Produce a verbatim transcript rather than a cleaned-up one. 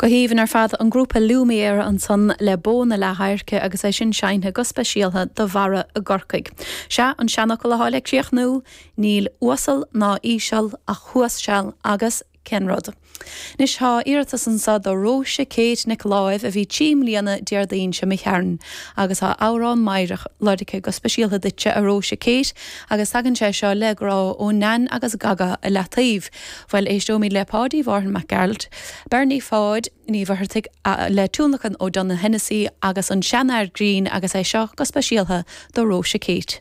Go haoibhinn ar fad an grúpa Lumière ansan le Bó na Leath-Adhairce agus é sin seinnte go speisialta do Bharra i gCorcaigh. Sea an seanfhocal atá le críochnú, níl uasal ná íseal ach thuas seal agus cén rud. Anois tá iarratas anseo do Róise Kate Nic Láimh a bhí trí mbliana Déardaoin seo imigh tharainn, agus tá amhrán meidhreach lorgtha go speisialta duitse a Róise Kate agus tagann sé seo le grá ó Nan agus Gaga i Leataobh. Bhuel éisteoimid le Páidí Mhárthain Mac Gearailt, Bernie Pháid Ní Mhuircheartaigh le tionlacan ó Donogh Hennessy agus an seanfhear grinn agus é seo go speisialta do Róise Kate.